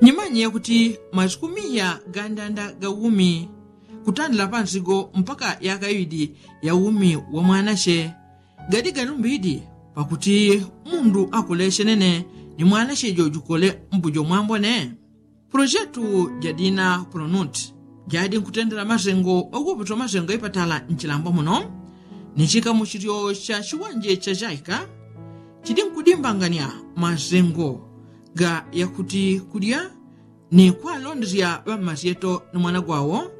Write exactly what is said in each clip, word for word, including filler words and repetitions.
Nyimanye yakuti masiku miya gandanda ga umi kutandila pansigo mpaka yaka iwidi ya umi wa mwanache gadi galumbidi pakuti mundu akule chenene ni mwanache jojukole mbujo mwambone. Pulojetu jadina pulonuti jadi nkutendela masengo ogopetwa masengo ipatala nchilambo muno ni chikamuchilyo cha chiwanje cha chaika chidi nkudimbangania masengo ga yakuti kulya ni kwalondesya ŵammasyeto ni mwana gwawo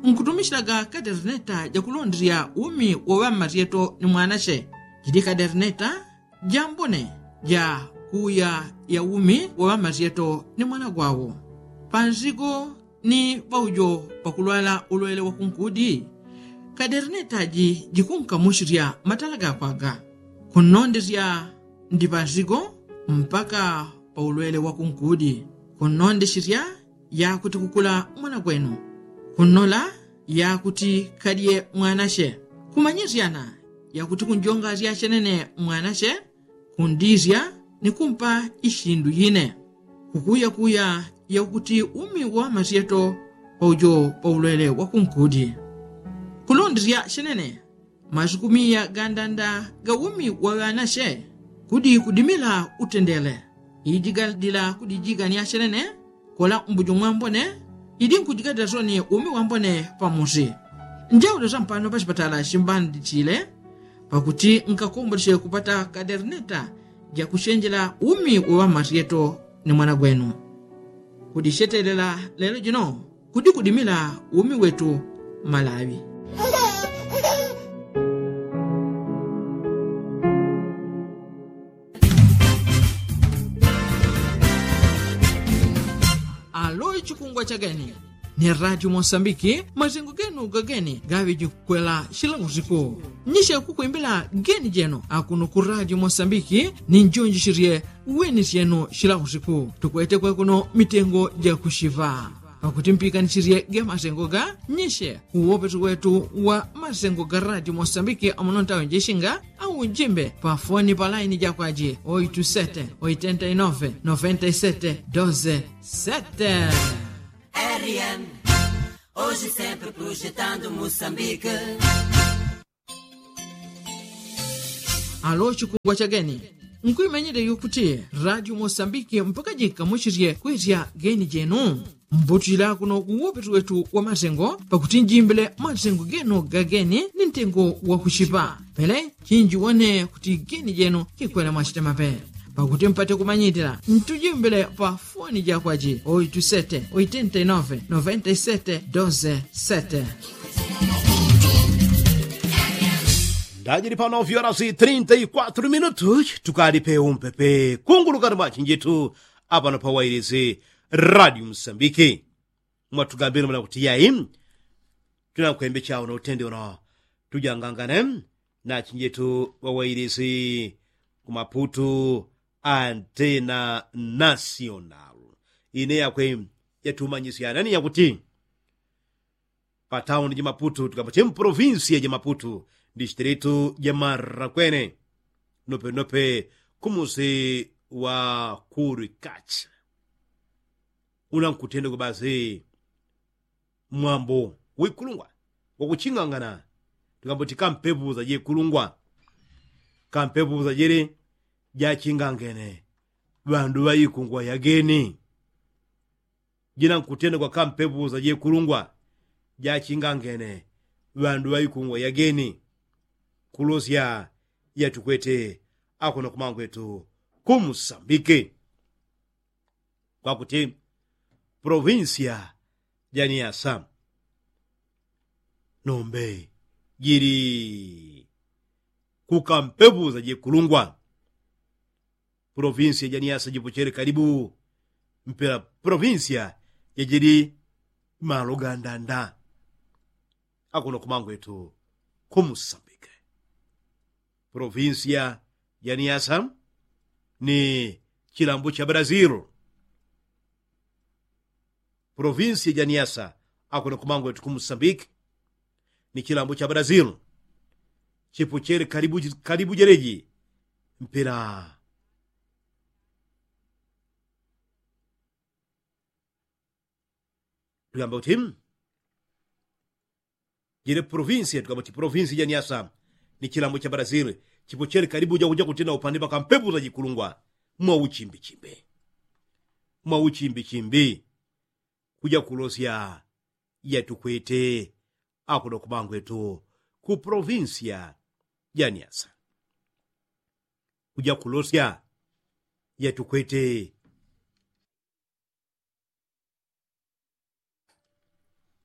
nkutumisyilaga kaderneta jakulondesya umi wa ŵammasyeto ni mwanache. Jidi kaderneta jambone ja kuuya ya umi wa ŵammasyeto ni mwana gwawo pansigo ni paujo pakulwala ulwele wa kunkudi. Kaderneta ji jikunkamuchilya matala gakwaga kunnondesya ndi pansigo mpaka pa ulwele wa kunkudi kunnondeshelya yakuti kukula mwana gwenu kunnola yakuti kalye mwanache kumanyisyana yakuti kunjongasya chenene mwanache kundisya ni kumpa ishindu yine kukuyakuya yakuti umi wa ŵammasyeto paujo pa ulwele wa kunkudi kulondesya chenene masiku miya gandanda ga umi wa ŵanache kudi kudimila utendele. Iji gadila kudijigania chenene kola mbujo mwambone iji nkujigadila soni umi wambone pamusi. Njaule sampano pachipatala chimbandichile pakuti nkakomboleche kupata kaderneta jakuchenjela umi wa ŵammasyeto ni mwana gwenu. Kudichetelela lelo jino kudi kudimila umi wetu malawi. Alo chikungwa cha geni ni radio mosambiki masengo genu gageni gaŵi jikwela chila usiku. Nyishe kukwimbila geni jenu akuno ku radio mosambiki ni njonjisherye weni syenu chila usiku tukwete kwekuno mitengo jakuchiŵa pakuti mpikanichirye ge masengo ga nyishe uwopesi wetu wa masengo ga radio mosambiki amuno ntawe njishinga au njimbe pa foni pa laini jakwaji oitu sete oitenta inove noventa isete doze sete. Rn, hoje sempre projetando Moçambique. Alo chikungwa cha geni nkuimenyele yukuti radio mosambiki mpaka jikamuchilye kwesya geni jenu. Mbutila kuno kuwopeti wetu wa masengo pakuti njimbile masengo genu gageni ni ntengo wakuchipa pele chinjiwone kuti geni jenu kikwela mwachitemape. Pakuti mpate kumanyilila ntujimbile pa foni jakwaji oitu sete oitenta inove noventa isete doze sete. Ndajili pano vyora si trinta i kwatru minutu tukali pe umpepe kungulukani mwachinjitu apano pa wailisi radio msambiki. Mwatugambile mwana kuti yai tunankwembe chao na utende uno tujangangane na chinjetu wawailisi kumaputu antena nasional ine yakwe yatumanyisyana ni yakuti patauni ja maputu tukamba ti mprovinsia ja maputu distritu ja marakwene nopenope kumusi wa kurikachi. Unankutende kubasi mwambo wikulungwa wakuchingangana tukamba ti kampepuza jekulungwa kampepuza jele jachingangene ŵandu ŵaikungwa yageni. Jinankutende kwa kampepuza jekulungwa jachingangene ŵandu ŵaikungwa yageni. Kulosya yatukwete akuno kumangwetu kumusambike kwakuti provinsia ja niasa nombe jili kukampepuza jekulungwa. Provinsia ja niasa jipochele kalibu mpela provinsia jajili malo gandanda. Akuno kumangwetu kumusambike provinsia ja niasa ni chilambo cha brazil. Provinsia ja niasa akuno kumangwetu kumusambike ni chilambo cha brazil. Chipochele kalibu jeleji mpela. Tukamba kuti jile provinsi tukamba kuti provinsi janiasa ni chilambo cha brazili chipochele kalibu jakuja kutina upande pakampepuza jikulungwa mwa uchimbichimbi mwa uchimbichimbi kuja kulosya yatukwete akuno kumangwetu ku provinsi janiasa kuja kulosya yatukwete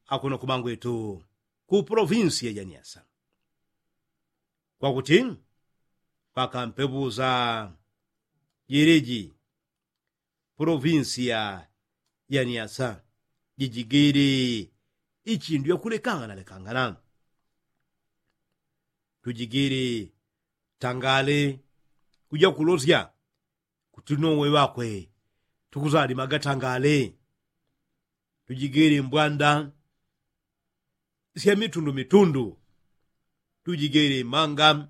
akuno kumangwetu ku provinsi janiasa kwakuti pakampepuza jeleji provinsi janiasa jijigili ichindu yakulekangana lekangana tujigili tangale kuja kulosya kuti nowe ŵakwe tukuzalimaga tangale tujigili mbwanda sya mitundu mitundu tujigili manga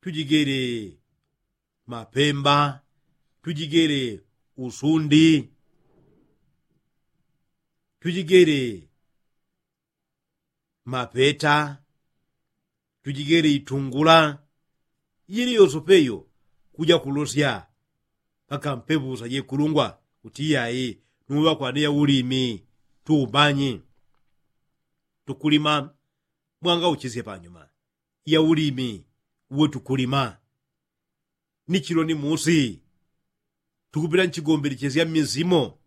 tujigili mapemba tujigili usundi tujigili mapeta tujigele itungula yili yosopeyo kuja kulosya pakampepusa jekulungwa kuti iyayi nuŵakwane yaulimi tuumanyi tukulima mwangauchisye panyuma yaulimi uwe tukulima ni chilo ni musi tukupita nchigombelechesya mmizimo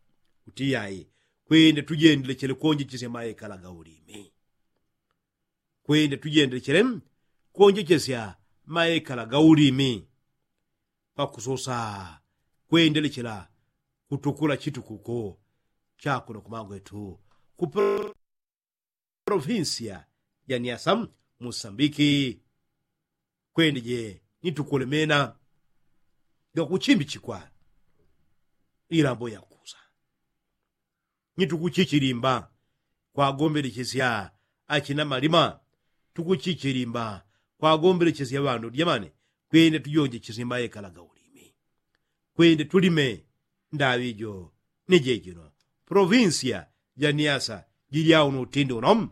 kuti iyayi kwenda tujendelechele kuonjechesya maekala gaulimi kwenda tujendelechele kuonjechesya maekala gaulimi pakusosa kwendelechela kutukula chitukuko chakuno kumangwetu ku provinsia ya niasa musambiki kwendeje nitukulemena gakuchimbichikwa ilambo yakusa nitukuchichilimba kwagombelechesya achina malima tukuchichilimba kwagombelechesya ŵandu dyamane kwende tujonjechesye maekala gaulimi kwende tulime ndaŵi jo ni jejino provinsia ja niasa jilya uno utindi uno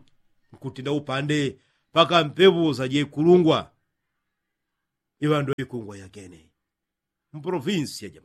nkutinda upande pakampeŵusa jekulungwa iŵandu ikungwa yakene mprovinsia ja